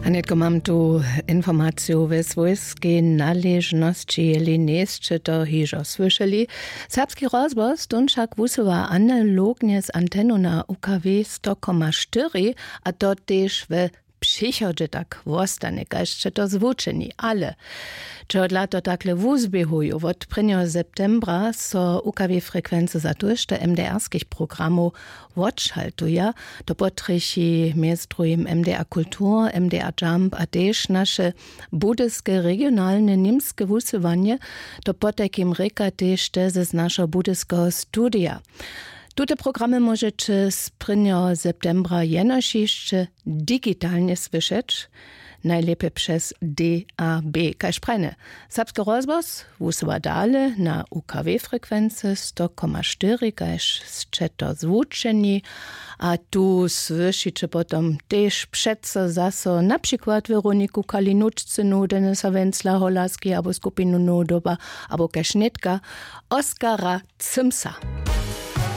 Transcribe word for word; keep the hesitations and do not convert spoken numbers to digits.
A nětko mam tu informaciju we swójskej naležnosći, jeli njejsće to hižo słyšeli. Serbski rozhłos tón wšak wusyła analognje z antenu na ukw sto koma štyri, a to tež we přichodźe tak wostanje kaž će to zwučeni, ale čehodla to takle wuzběhuju? Wot prěnjeho septembra so ukw frekwency za tójšto mdrskich programow wotšaltuja. To potrjechi mjez druhim mdr kultur, mdr jump a tež naše budyske regionalne němske wusyłanje. To potajkim rěka tež te z našeho budyskeho studija. Tute programy móžeće z prěnjeho septembra jenož hišće digitalnje słyšeć, najlěpje přez dab. Kaž prajne, serbske rozhłos wusyła dale na ukw frekwency sto koma štyri kaž sće to zwučeni. A tu słyšiće potom tež přeco zaso na přikład weroniku kalinučcynu, denisa wenzla holarski abo skupinu nodoba, abo kaž nětka oskara cymsa.